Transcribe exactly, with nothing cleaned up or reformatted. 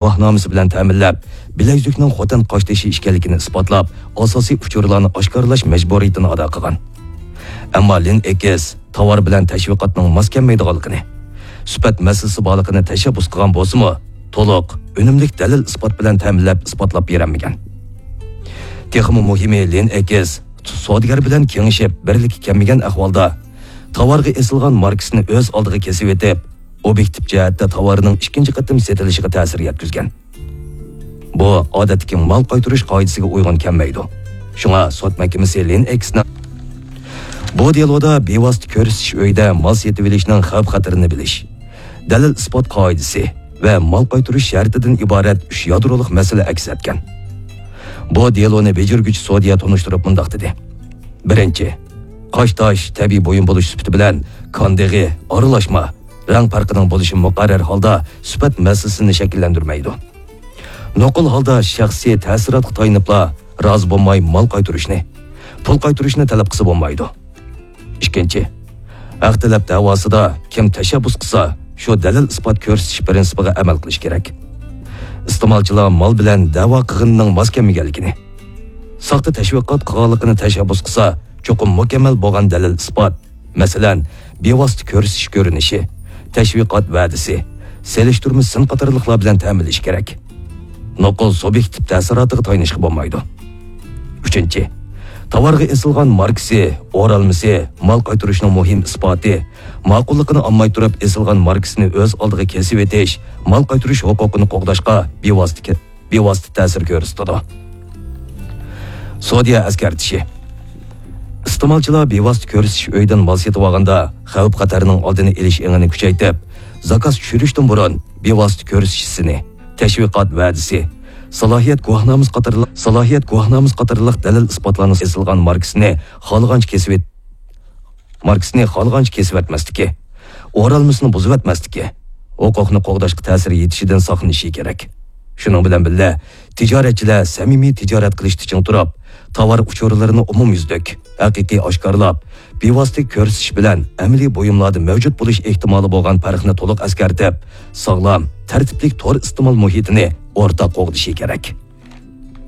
گۇۋاھنامىسى بىلەن تەمىنلەپ، بىلەيزۈكنىڭ خوتەن قاشتېشى ئىكەنلىكىنى ئىسپاتلاپ، ئاساسىي ئۇچۇرلارنى ئاشكارىلاش مەجبۇرىيىتىنى ئادا قىلغان. ئەمما لىن ئېكس تاۋار بىلەن تەشۋىقاتنىڭ ماس كەلمەيدىغانلىقىنى، سۈپەت مەسىلىسى بارلىقىنى تەشەببۇس قىلغان بولسىمۇ، تولۇق، ئۈنۈملۈك دەلىل ئىسپات بىلەن تەمىنلەپ ئىسپاتلاپ بېرەلمىگەن. تېخىمۇ مۇھىمى، لىن ئېكس سودىگەر بىلەن كېڭىشىپ، بىرلىككە كەلمىگەن ئەھۋالدا، تاۋارغا ئېسىلغان ماركىسىنى ئۆز ئالدىغا كېسىۋېتىپ، ئوبيېكتىپ جەھەتتە تاۋارنىڭ ئىككىنچى قېتىم سېتىلىشىغا تەسىر يەتكۈزگەن. بۇ ئادەتتىكى مال قايتۇرۇش قائىدىسىگە ئۇيغۇن كەلمەيدۇ. شۇڭا سوت مەھكىمىسى لىن ئېكسنىڭ بۇ دېلودا بىۋاسىتە كۆرسىتىش ئۆيىدە مال سېتىۋېلىشنىڭ خەۋپ-خەتىرىنى بىلىش، دەلىل-ئىسپات قائىدىسى ۋە مال قايتۇرۇش شەرتىدىن ئىبارەت ئۈچ يادرولۇق مەسىلە ئەكس ئەتكەن. بۇ دېلونى بېجىرگۈچى سودىيە تونۇشتۇرۇپ مۇنداق دېدى: بىرىنچى، قاشتاش تەبىئىي بۇيۇم بولۇش سۈپىتى بىلەن كان دېغى، ئارىلاشما، رەڭ پەرقىنىڭ بولۇشى مۇقەررەر ھالدا سۈپەت مەسىلىسىنى شەكىللەندۈرمەيدۇ. نوقۇل ھالدا شەخسىي تەسىراتقا تايىنىپلا رازى بولماي مال قايتۇرۇشنى، پۇل قايتۇرۇشنى تەلەپ قىلسا بولمايدۇ. ئىككىنچى، ھەق تەلەپ دەۋاسىدا كىم تەشەببۇس قىلسا، شۇ دەلىل-ئىسپات كۆرسىتىش پىرىنسىپىغا ئەمەل قىلىش كېرەك. ئىستېمالچىلار مال بىلەن دەۋا قىلغىنىنىڭ ماس كەلمىگەنلىكىنى، ساختا تەشۋىقات قىلغانلىقىنى تەشەببۇس قىلسا، چوقۇم مۇكەممەل بولغان دەلىل-ئىسپات، مەسىلەن، بىۋاسىتە كۆرسىتىش كۆرۈنۈشى، تەشۋىقات ۋەدىسى، سېلىشتۇرما سىن قاتارلىقلار بىلەن تەمىنلىشى كېرەك. نوقۇل سۇبيېكتىپ تەسىراتىغا تايىنىشقا بولمايدۇ. ئۈچىنچى، تاۋارغا ئېسىلغان ماركىسى، ئورالمىسى، مال قايتۇرۇشنىڭ مۇھىم ئىسپاتى، ماقۇللۇقىنى ئالماي تۇرۇپ ئېسىلغان ماركىسىنى ئۆز ئالدىغا كېسىۋېتىش مال قايتۇرۇش ھوقۇقىنى قوغداشقا بىۋاسىتە كە-، بىۋاسىتە تەسىر كۆرسىتىدۇ. سودىيە ئەسكەرتىشى. ئىستېمالچىلار بىۋاسىتە كۆرسىتىش ئۆيىدىن مال سېتىۋالغاندا خەۋپ-خەتەرنىڭ ئالدىنى ئېلىش ئېڭىنى كۈچەيتىپ، زاكاز چۈشۈرۈشتىن بۇرۇن بىۋاسىتە كۆرسىتىش سىنى، تەشۋىقات ۋەدىسى، سالاھىيەت گۇۋاھنامىسى قاتارلىق، سالاھىيەت گۇۋاھنامىسى قاتارلىق دەلىل-ئىسپاتلارنى ئېسىلغان ماركىسىنى خالىغانچە كېسىۋېت-، ماركىسىنى خالىغانچە كېسىۋەتمەسلىكى، ئورالمىسىنى بۇزۇۋەتمەسلىكى، ھوقۇقنى قوغداشقا تەسىر يېتىشىدىن ساقلىنىشى كېرەك. شۇنىڭ بىلەن بىللە، تىجارەتچىلەر سەمىمىي تىجارەت قىلىشتا چىڭ تۇرۇپ، تاۋار ئۇچۇرلىرىنى ئومۇميۈزلۈك، ھەقىقىي ئاشكارىلاپ، بىۋاسىتە كۆرسىتىش بىلەن ئەمەلىي بۇيۇملاردا مەۋجۇت بولۇش ئېھتىمالى بولغان پەرقنى تولۇق ئەسكەرتىپ، ساغلام، تەرتىپلىك تور ئىستېمال مۇھىتىنى ئورتاق قوغدىشى كېرەك.